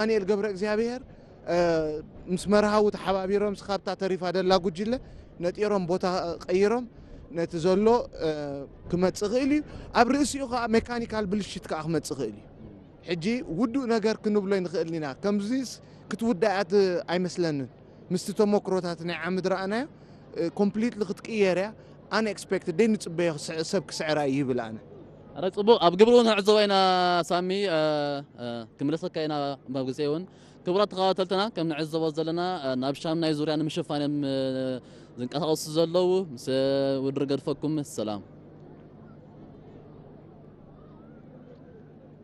ዳንኤል ገብረ እግዚኣብሔር ምስ መርሃዊ ተሓባቢሮም ስኻብታ ተሪፋ ደላ ጉጅለ ነጢሮም ቦታ ቀይሮም ነቲ ዘሎ ክመጽእ ክእል እዩ። ኣብ ርእሲኡ ከዓ ሜካኒካል ብልሽት ከዓ ክመጽእ ክእል እዩ። ሕጂ ውዱእ ነገር ክንብሎ ይንኽእል ኢና። ከምዚስ ክትውዳእ እያ ት-፣ ኣይመስለንን። ምስቲ ተሞክሮታት ናይ ዓምድ ረኣናዮ ኮምፕሊትሊ ክትቅየር እያ። ኣንኤክስፔክትድ ደይ ንጽበዮ ክስዕ-፣ ሰብ ክስዕራ እዩ ይብል ኣነ። ኣረ ጽቡቕ፣ ኣብ ግብሪ እውን ንዕዘቦ ኢና ሳሚ። ክምለሰካ ኢና ኣብ ግዜ እውን። ክቡራት ተኸታተልትና ከም ንዕዘቦ ዘለና ናብ ሻምናይ ዙርያ ንምሽፋን እዮም ዝንቀሳቐሱ ዘለዉ። ምስ ውድድር ገድፈኩም ሰላም።